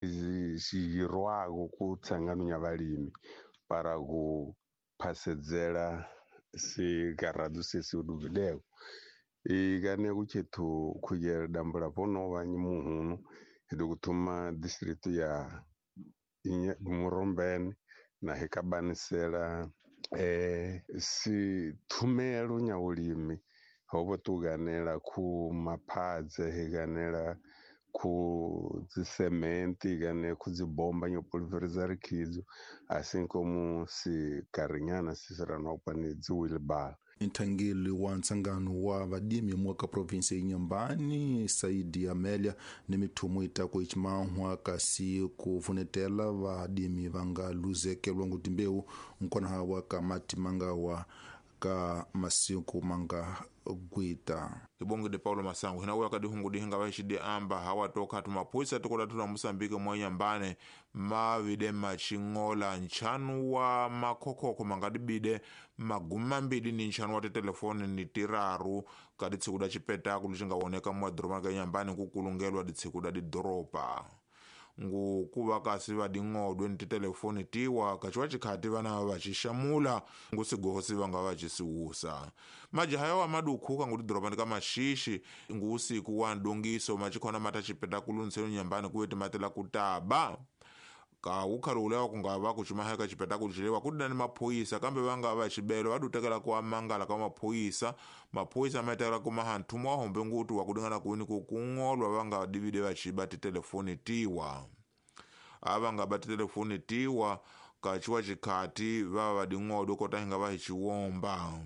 Xirwako ku tsangano ya valimi para ku phasedzela sigaradu sesi uduvileko ikane kuchethu khuyela dambula ponova nyimuhunu hidukuthuma district ya Murombeni na hikabanisela si thumelo nya ulimi hobo tuganela ku maphadze higanela ku dzisementi gane ku dzibomba nyo pulverizar khidzo assim como si carinyana sisiranopa ni dziwilbal. Nthangeli wa ntsangano wa vadimi mwaka provinsi ya Inhambane Saidi Amelia ni mithumo itako ichimahwa kasi kuvunetela vadimi vanga luzekelwa ngutimbewu nkona hawa ka mati mangawa ka masiku manga gwita. Ibonge de Paulo Masango hina uya kadihungu dihinga vaishidi amba hawa toka tumapwisa tukola tuna Mosambike mwa Inhambane mavide machingola nchanu wa makhokoko mangadibide maguma mbili ni nchanu wa titelefoni ni tiraru kadi tsiku da chipetakulu chingawoneka mwa doroba ka Inhambane kukulungelwa ditsiku da didoropa ngukuva kasi vading'odwe ni titelefoni tiwa kachiwa chikhati vana vacixamula ngusigosi vanga vacisiwusa majaha yawa madukhuka ngutidoroba ka maxixi nguusiku wa ndongiso machikhona mata chipetakulu ntsenu Inhambane kuve timatela kutaba ka ulewa kungava kuchimaheka chipetakulu chilewa kudina ni maphuyisa kambe vanga vachibelo vadutekela kuamangala ka maphuyisa maphuyisa maitela kumaha nthumo wahombe nguti wakudingana kuini kukung'olwa vanga divide vachiba titelefoni tiwa avanga ba titelefoni tiwa kachiwa chikhati vava vading'odwe kotahinga vahichiwomba.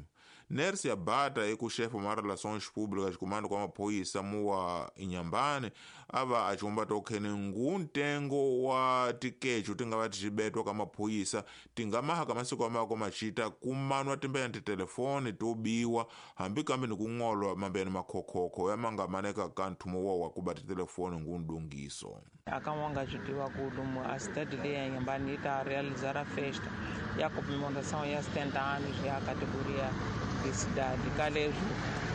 Nersi ya bata ekuxefa ma relações públicas comando kwa maphuyisa muwa Inhambane ava achiwomba tokhene ngu ntengo wa tikechu tingava tichibetwa ka maphuyisa tingamaha ka masiku amako machita kumanwa timbeyani titelefoni tobiwa hambi kambe ni kung'olwa mambeyani makhokhokho yamangamaneka ka nthumo wa wakuba titelefoni ngu ndungiso. Akamwanga chitiwa kulumu a cidade leyi ya Inhambane yi ta realizar a festa ya comemoração ya 70 anos ya categoria de cidade. Kalesvo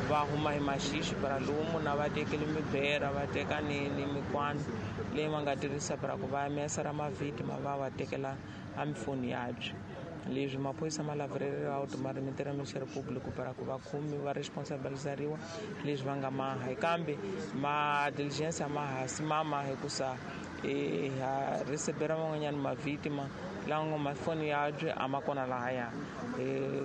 va huma hi maxixi para lumu na va tekele mibera va teka ni mikwani leyi va nga tirhisa para ku va mesa ra mavhitima va va tekela a mifoni yabyo. Leswi maphorisa ma lavereriwa ku ma rimitela Ministério Público para ku va khomi va responsabilizariwa leswi va nga maha kambe ma diligência ma hasi mama hikusa ha recebera van'wanyana mavhitima lawa mafoni yabyo a ma kona lahaya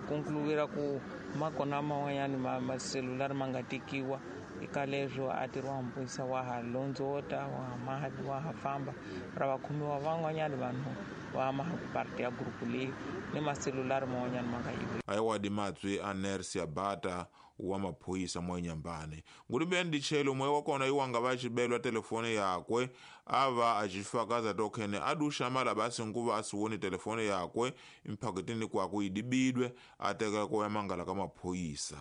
concluir ku ma kona man'wanyana maselulari ma nga tekiwa eka leswo a tirhiwa mpuyisa wa ha londzota wa ha maha wa ha famba ra va khomiwa van'wanyana vanhu va maha ku parte ya gurupu leyi ni maselulari man'wanyana ma nga yiviwa. Ayiwadi matswi a Nersi Abata wa maphuyisa mwa Inhambane ngulimbeni ndichelo mwe wakona iwanga vachibelwa telefoni yakwe ava achifakaza tokhene aduxamala basi nkuva asiwoni telefoni yakwe mphaketini kwaku idibidwe ateka kuya mangala ka maphuyisa.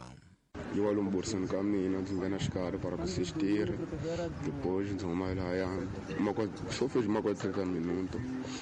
Yi wa lomu ka mina ndzi nghena xikarhi para ku assistir depois ndzi huma lahaya swo fez uma quase 30 minuto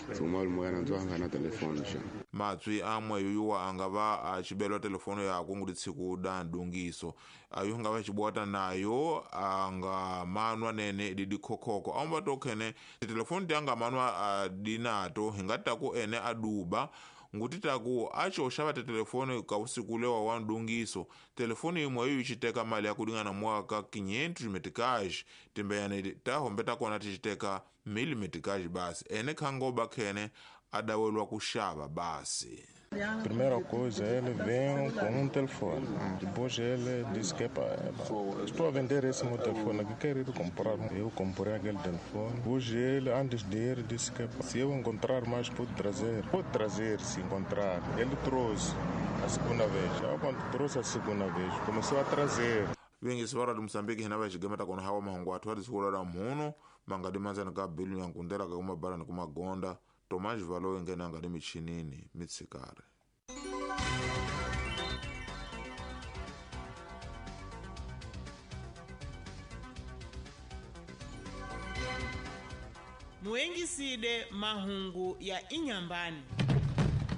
ndzi huma lomoyana ndzi va nga na telefoni xa. Matswi amwe yoyuwa anga va achibelwa telefoni yakwe nguti tsiku da ndungiso ayo nga va chibwata nayo anga manwa nene didikhokhokho aumba tokhene titelefoni ti anga manwa adinato hingataku ene aduba nguti taku acho xava titelefoni ka usiku lewa wa ndungiso telefoni imwe iyo ichiteka mali ya kulingana mwaka 500 meticais timbeyani tahombe takona tichiteka 1000 meticais basi ene khangoba khene adawelwa kuxava basi. Primeira coisa, ele vem com um telefone. Depois ele disse que estou a vender esse meu telefone aqui, quero ir comprar. Eu comprei aquele telefone. Hoje ele, antes de ir, disse que se eu encontrar mais, pode trazer. Pode trazer, se encontrar. Ele trouxe a segunda vez. Eu, quando trouxe a segunda vez, começou a trazer. Vingisi va Radio Mosambiki hina va xigemeta kona hawa mahungu athu atisikula mhuno mangadi manzani ka bilu ya nkundela ka kumabala ni kumagonda Tomás Valo engena ngadi michinini mitsikare. Muengiside mahungu ya Inhambane.